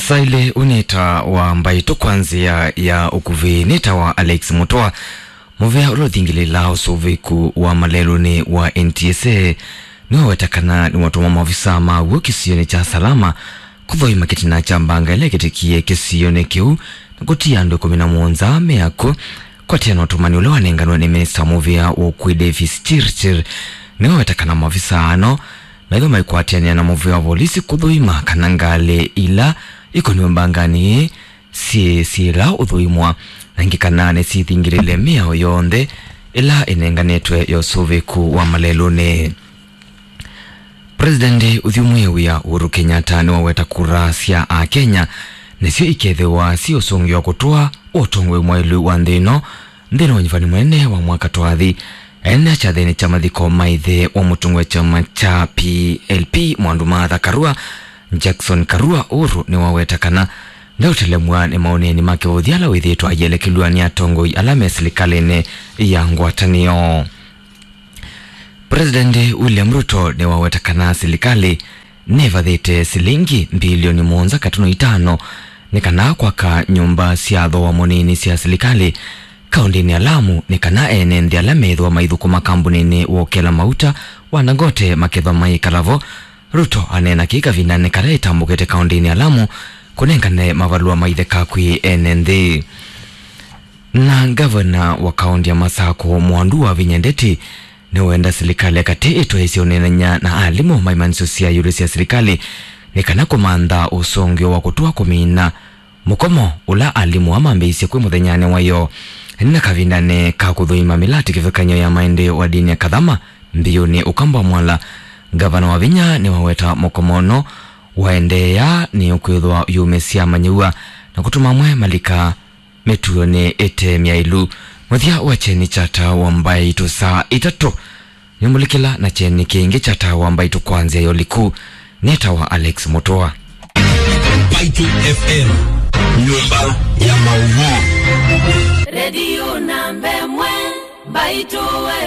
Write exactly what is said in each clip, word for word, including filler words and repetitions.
Saile ũnĩta wa Mbaitũ kwa nzĩa ya ũkuvĩ nĩtawa Alex Mũtũa. Mũvĩa ũla ũthingĩlĩlaa ũsũvĩku wa malelũnĩ wa N T S A nĩwaweta kana nĩwatũma maovisa maw'o kĩsionĩ kya Salama kũthũima kĩtina kya mbanga ĩla ĩkĩtĩkie kĩsionĩ kĩu na kũtia andũ ĩkũmi na mũonza me akw'ũ. Kwatĩana na ũtũmani ũla wanenganwe nĩ minista wa mũvĩa wa ũkui Davis Chirchir, nĩwaweta kana maovisa ano naitho maikwatĩanĩa na mũvĩa wa volisi kũthũima kana ngalĩ ila ikoniwe mbanganĩ ĩĩ syĩ syĩla ũthũimwa, na ĩngĩ kana nĩsyĩthingĩlĩle mĩao yonthe ĩla ĩnenganĩtwe ya ũsũvĩku wa malelũnĩ. President ũthyũmũĩe wĩa Uhuru Kenyatta nĩwaweta kura sya Akenya nĩsyo ikethĩwa syĩ ũsũngĩo wa kũtũa wa ũtongoi mwaĩlu wa nthĩ ĩno nthĩnĩ wa ũnyivani mũnene wa mwaka twathi. Ene kyathĩnĩ kya mathiko ma ĩthe wa mũtongoi wa kyama kya P L P Mwandu Martha Karua, Jackson Karua, Uhuru nĩwaweta kana ndaũtelemw'a nĩ maũneeni ma kĩvũthi ala wĩthĩĩtwe aielekelw'a nĩ atongoi ala me silikalĩnĩ ya ngwatanĩo. President William Ruto nĩwaweta kana silikalĩ nĩvathĩte silingi mbilioni mũonza katuno itano nĩ kana kwaka nyũmba sya thooa mũnini sya silikalĩ kaũndĩnĩ ya Lamu, nĩ kana ene nthĩ ala methĩwa maithũkũma kambunĩnĩ wa ũkela mauta wa Dangote makethwa mayĩkala vo. Ruto aneena kĩĩ kavindanĩ kala ĩtambũkĩte kaũndĩnĩ ya Lamu kũnengane mavalũa ma itheka kwĩ ene nthĩ. Na ngavana wa kaũndĩ ya Masakũ, Mwandu Wavinya Ndeti, nĩwenda silikalĩ ya katĩ ĩtwaĩĩsye ũneenany'a na alimũ ma imanyĩsyo sya ĩũlũ sya silikalĩ nĩ kana kũmantha ũsũngĩo wa kũtũa kũmina mũkomo ũla alimũ aa mambĩĩisye kwĩ mũthenyanĩ wa ĩyoo. Na kavindanĩ ka kũthũima mĩlatĩ kĩvathũkany'o ya maendeeo wa ndini ya Kathama mbiũnĩ Ũkamba wa Mwala, ngavana Wavinya nĩwaweta mũkomo ũno waendeea nĩ ũkwĩthwa ũyũmĩsya amanyĩw'a na kũtuma amwe malika mĩtuonĩ ĩte myaĩlu. Mũthya wa kyeni kya Taa wa Mbaitũ saa itatũ nĩmũlikĩla na kyeni kĩngĩ kya Taa wa Mbaitũ kwa nzĩa ya ũliku. Nĩtawa Alex Mũtũa. Mbaitũ F M, nyũmba ya maũvoo. Redio namba ĩmwe, Mbaitũ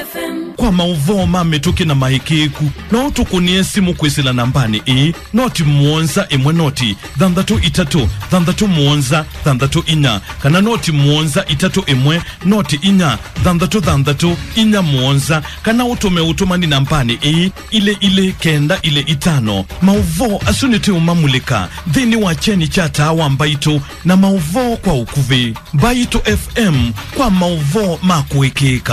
F M. Kwa maũvoo ma mĩtũkĩ na maĩkĩĩku, no ũtũkũnĩe simũ kwĩsĩla nambanĩ ĩĩ, noti mũonza ĩmwe noti thanthatũ itatũ thanthatũ mũonza thanthatũ inya, kana noti mũonza itatũ ĩmwe noti inya thanthatũ thanthatũ inya mũonza, kana ũtũme ũtũmani nambanĩ ĩĩ, ilĩ ilĩ kenda ilĩ itano. Maũvoo asu nĩtũũmamulĩka nthĩnĩ wa kyeni kya Taa wa Mbaitũ na maũvoo kwa ũkuvĩ. Mbaitũ F M, kwa maũvoo ma kũĩkĩĩka.